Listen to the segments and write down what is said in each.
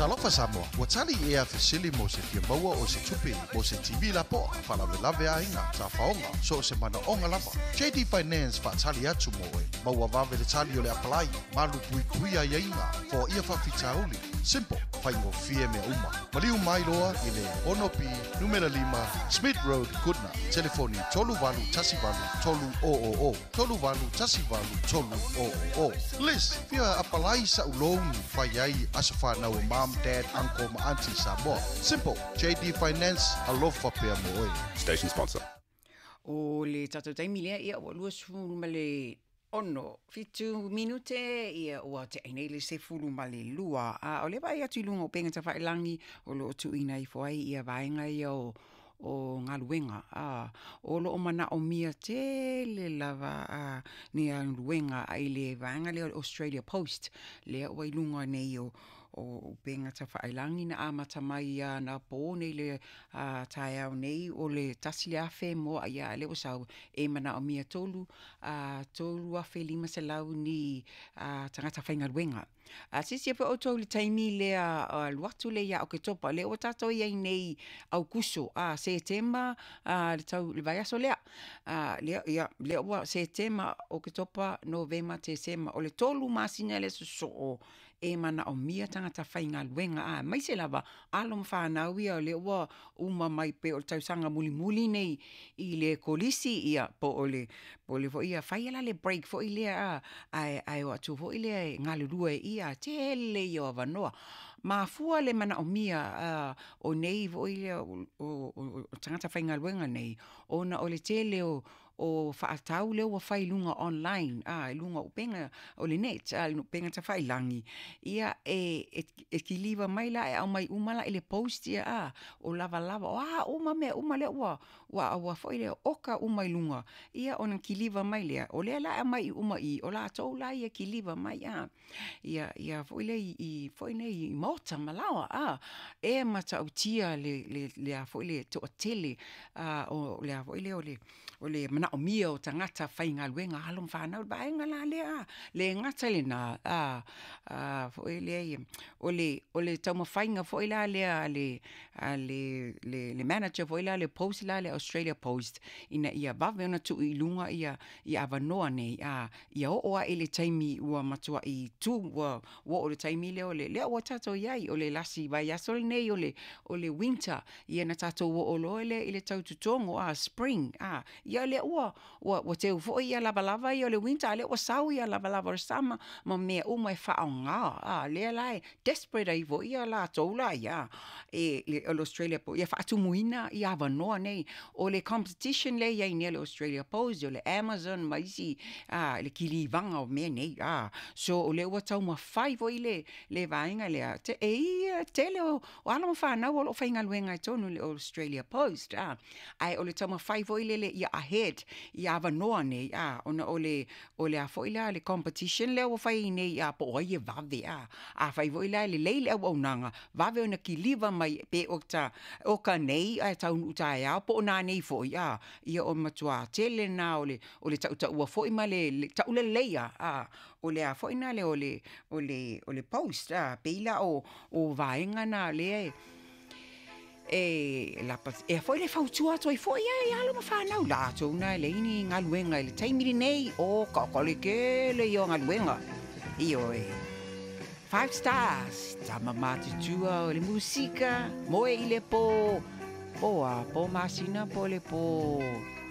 Talofa Samoa, ua tali ea fesili mo se fia maua o se tupe mo se TV lapoa, faalavelave aiga, tafaoga, so o se manaoga lava. JD Finance faatali atu mo oe. Maua vave le tali o le apalai, malu puipuia aiaiga, foaia faafitauli. Simple, faigofie mea uma. Maliu mai loa i le 6B numera 5 Smith Road, Goodna. Telefoni 3818 300 3818 300. Liz, fia apalai sa'u loan fai ai aso fanau o mom, dad, uncle ma auntie Samoa. Simple, JD Finance, alofa pea mo oe. Station sponsor. O le tatou taimi lea, ia, ua 26 7 minute, ia, ua teʻe nei le 12. A o lea vaai atu i luga o upega tafailagi o lo o tuuina ifo ai ia vaega ia o galuega, a, o lo o manaomia tele lava a ni galuega i le vaega lea o le Australia Post, lea ua i luga nei o upega tafailagi na amata mai anapo nei le taeao nei o le 1,000 moa ia lea ua sau e manaomia 3,500 ni tagata faigaluega. A silasila foi outou i le taimi lea alu atu lea ia Oketopa, lea ua tatou i ai nei Aukuso, a Setema le tau le vaiaso lea. A lea ia lea ua Setema, Oketopa, Novema, Tesema, o le 3 masina lea sosoo e manaomia tagata faigaluega, aemaise lava alo ma fanau ia o lea ua uma mai pei o le tausaga mulimuli nei i le kolisi, ia po o le foi ia fai la le break foi lea, ae o atu foi lea e galulue ia tele ia o avanoa. Mafua le manaomia o nei foi lea o tagata faigaluega nei ona o le tele o faatau lea ua fai i luga online, i luga o upega o le net, upega tafailagi ia e kiliva mai la e aumai uma la i le post ia o lavalava o a uma mea uma lea ua foi lea oka uma i luga ia ona kiliva mai lea o lea la e aumai uma i o latou la ia kiliva mai ia foi lea i foi nei i maota ma laoa e matautia le a foi le toatele o le a foi lea o le manaomia o tagata faigaluega alo ma fanau le vaega la lea le gata i lena foi lea o le taumafaiga foi la lea a le manager foi la le post la le Australia Post ina ia vave ona tuu i luga ia avanoa nei ia oo ae i le taimi ua matuai tu ua oo le taimi lea o le lea ua tatou i ai o le lasi vaiaso lenei o le winter ia na tatou oo loa lea i le tau totogo spring ia lea ua teu foi ia lavalava ia o le winter a lea ua sau ia lavalava o le summer ma mea uma e faaaoga lea la e desperate ai foi ia latou la ia e o le Australia ia faatumuina ia avanoa nei o le competition lea i ai nei le Australia Post o le Amazon ma isi le kilivaga o mea nei so o lea ua taumafai foi le vaega lea te, e ia tele o alo ma fanau o lo o faigaluega i totonu le Australia Post ae o le taumafai foi lele ia ahead ia avanoa nei ona o le a foi la le competition lea ua fai nei po o ai e vave afai foi la e lelei le auaunaga vave ona kiliva mai pe o ta o ka nei ae taunuu taeao po o nanei foi ia o matua tele na o le tautaua foi ma le tauleleia o le a foi na le o le post pei la o vaega na lea e lapa e foi le fautua atu ai foi ai alo ma fanau latou na e leai ni galuega i le taimi lenei o ka le tele ia o galuega ioe. Five Stars, tama matutua o le musika, moe i le po po a po masina po le po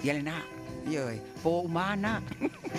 ia lena ioe po umana.